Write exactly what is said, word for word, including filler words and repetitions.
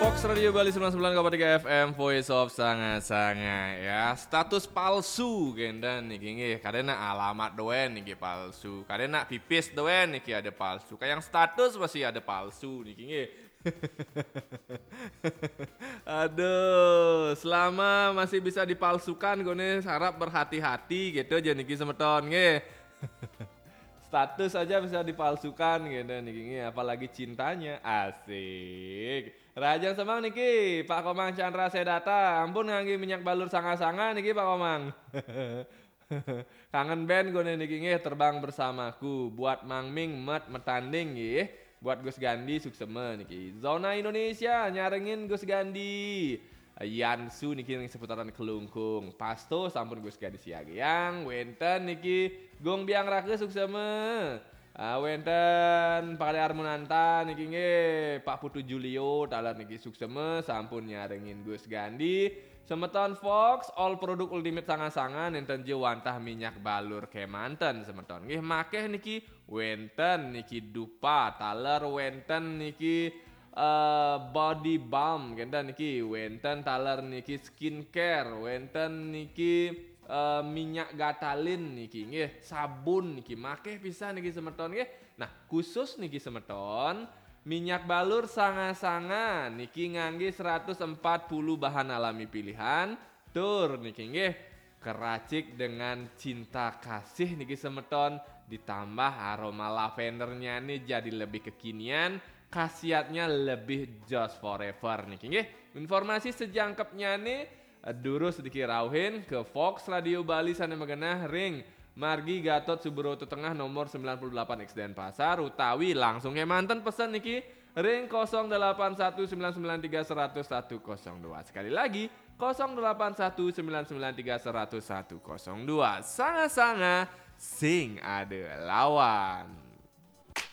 Fox Radio Bali sembilan sembilan koma tiga F M, Voice of Sanga-Sanga ya. Status palsu kénten niki nggih. Kadéna alamat doén niki palsu. Kadéna pipis doén niki ada palsu. Kayak yang status masih ada palsu niki nggih. Aduh, selama masih bisa dipalsukan gone harap berhati-hati gitu aja niki semeton nggih. Status aja bisa dipalsukan gitu niki nggih, apalagi cintanya. Asik. Rahajeng semeng niki Pak Komang Chandra Sedata, ampun ngangge minyak balur sanga-sanga niki Pak Komang. Kangen band gone niki nggih, Terbang Bersamaku, buat Mang Ming, Met Metanding nggih. Buat Gus Gandhi suksema niki. Zona Indonesia nyarengin Gus Gandhi. Yansu niki ring seputaran Kelungkung. Pasto sampun Gus Gandhi siagiang. Wenten niki Gung Biang Raka suksema. Ah, wenten Pak Kali Armunanta niki nggih, Pak Putu Julio taler niki suksema sampun nyarengin Gus Gandhi. Semeton Fox, all produk Ultimate sanga-sanga nenten je wantah minyak balur kemanten semeton. Nggih, makeh niki wenten niki dupa, taler wenten niki eh, body balm, kenten niki wenten taler niki skincare, wenten niki eh, minyak gatalin niki nggih, sabun niki makeh pisan niki semeton nggih. Nah, khusus niki semeton, minyak balur sanga-sanga niki ngangge seratus empat puluh bahan alami pilihan. Tur niki nggih, keracik dengan cinta kasih niki semeton, ditambah aroma lavendernya nih jadi lebih kekinian, khasiatnya lebih joss forever niki nggih. Informasi sejangkepnya nih eh, durus niki rauhin ke Fox Radio Bali sane magenah ring Margi Gatot Subroto Tengah nomor sembilan puluh delapan X Denpasar, utawi langsung kemanten pesen niki ring kosong delapan satu sembilan sembilan tiga seratus satu kosong dua. Sekali lagi, kosong delapan satu sembilan sembilan tiga seratus satu kosong dua. Sanga-sanga sing ada lawan.